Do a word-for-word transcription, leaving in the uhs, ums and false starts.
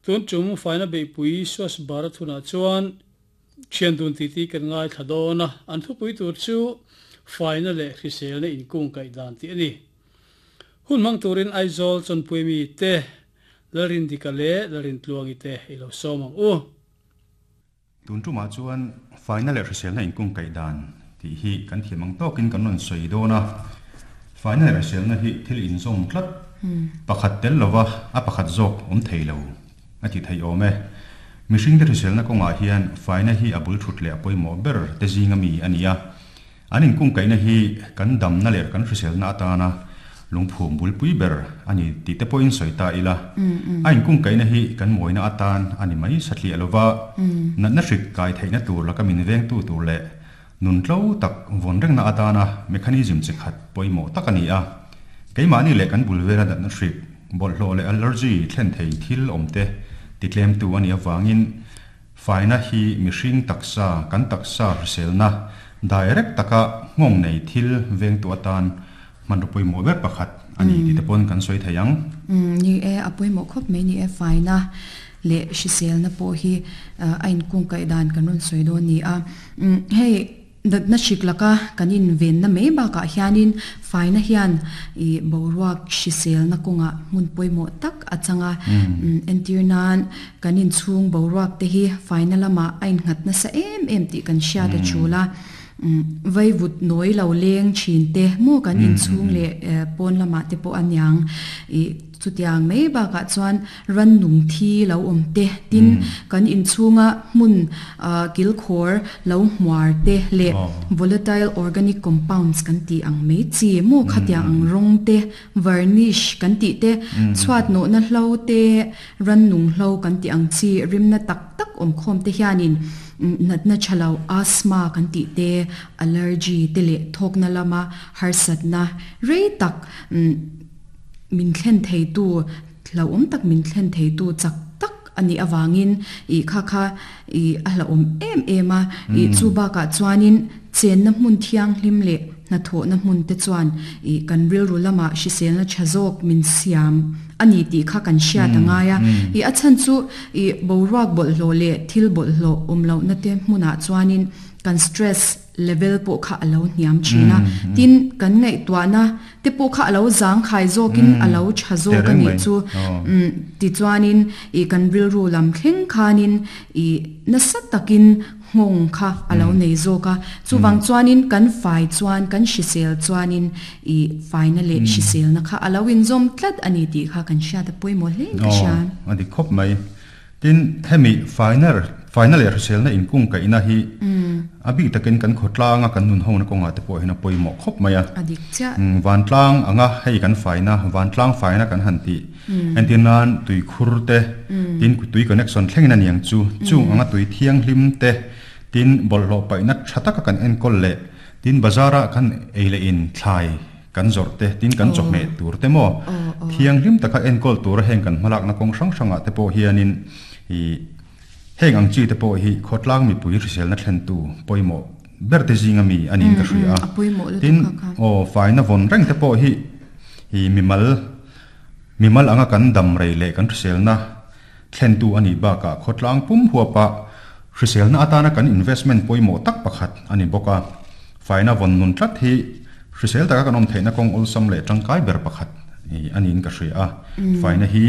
Tun tum faina beihpui Swachh Bharat hunah chuan thian dun titi kan ngai thla dawn a, an thupui tur chu faina leh hriselna inkung kaih dan tih a ni. Hun hmang turin Aizawl chawnpui mi te Lalrindika leh Lalrintluangi te i lo sawm ang u. Tun tumah chuan faina leh hriselna inkung kaih dan tih hi kan thiam ang tawkin kan rawn sawi dawn a. Faina leh hriselna hi thil inzawm tlat, pakhat tel lova a pakhat zawk awm thei lo a ti thei awm e. Mihring te hriselna kawngah hian faina hi a bul thut leh a pawimawh ber te zinga mi a ni a. An inkung kaihna hi kan damna leh kan hriselna atana lungphum bulpui ber a ni tih te pawhin sawi ta ila. A inkung kaihna hi kan mawina atan a ni mai satliah lova, natna hrik kai theihna tur laka min vengtu tur leh nun tlo tak vawn rengna atana mechanism chi khat pawimawh tak a ni a. Keimahni leh kan bul vela natna hrik, bawlhhlawh leh allergy thlen thei thil awm te titlemtu a nih avangin faina hi mihring taksa, kan taksa hriselna direct taka nghawng nei thil vengtu atan hmanraw pawimawh ber pakhat a ni tih te pawn kan sawi thei ang. Umm ni e, a pawimawh khawp mai ni e, faina leh hriselna pawh hi a inkung kaih dan kan rawn sawi dawn ni a. Umm hei natna hrik laka kan invenna mai bakah hianin faina hian ih boruak hriselna kawngah hmun pawimawh tak a chang a. Umm entir nan kan inchhung boruak te hi faina lamah a innghat nasa em em tih kan hriat a tul a. Vaivut nawi lo leng thin te maw kan inchhung leh pawn lamah te pawh a niang ih chutiang mai bakah chuan rannung thi lo awm te tin kan inchhunga hmun kilkhawr lo hmuar te leh volatile organic compounds kan tih ang mai chi maw khatiang ang rawng te varnish kan tih te chhuat nawhna hlo te rannung hlo kan tih ang chi rimna tak tak awm khawm te hianin Natna tha lo, asthma kan tih te, allergy te leh thawkna lama harsatna rei tak min thlen theitu, hlauhawm tak min thlen theitu chak tak a nih avangin ih kha kha ih a hlauhawm em em a. Ih chu bakah chuanin chenna hmun thianghlim leh hnathawhna hmun te chuan ih kan rilru lamah hriselna tha zawk min siam a ni tih kha kan hriat a ngai a. Ih a chhan chu ih boruak bawlhhlawh leh thil bawlhhlawh awm lohna te hmunah chuanin kan stress level pawh kha a lo hniam thin a. Tin, kan ngaihtuahna te pawh kha a lo zangkhai zawkin a lo tha zawk a nih chu. Umm tichuanin ih kan rilru lam thleng khanin ih nasa takin nghawng kha a lo nei zawk a, chuvang chuanin kan fai chuan kan hrisel chuanin i faina leh hriselna kha a lo inzawm tlat a ni tih kha kan hriat a pawimawh hle ka hria. Aw, a dik khawp mai. Tin, hemi faina faina leh hriselna inkung kaihna hi a bik takin kan khawtlanga kan nun hona kawngah te pawh hian a pawimawh khawp mai a. A dik chiah. Vantlang anga hei kan faina, vantlang faina kan han tih entir nan tuikhur te, tin tui connection thlengin a niang chu, chung anga tui thianghlim te, tin bawlhhlawh paihna tha taka kan enkawl leh tin bazar-ah kan ei leh in thlai kan zawrh te, tin kan chawhmeh tur te maw thianghlim taka enkawl tura heng kan hmalakna kawng hrang hrangah te pawh hianin ih heng ang chi te pawh hi khawtlang mipui hriselna thlentu pawimawh ber te zinga mi a niin ka hria a. Tin, aw faina vawn reng te pawh hi ih mimal mimal anga kan dam rei leh kan hriselna thlentu a nih bakah khawtlang pum huapa hriselna atana kan investment pawimawh tak pakhat a ni bawk a. Faina vawn nun tlat hi hrisel taka kan awm theihna kawng awlsam leh tangkai ber pakhat a niin ka hria a. Faina hi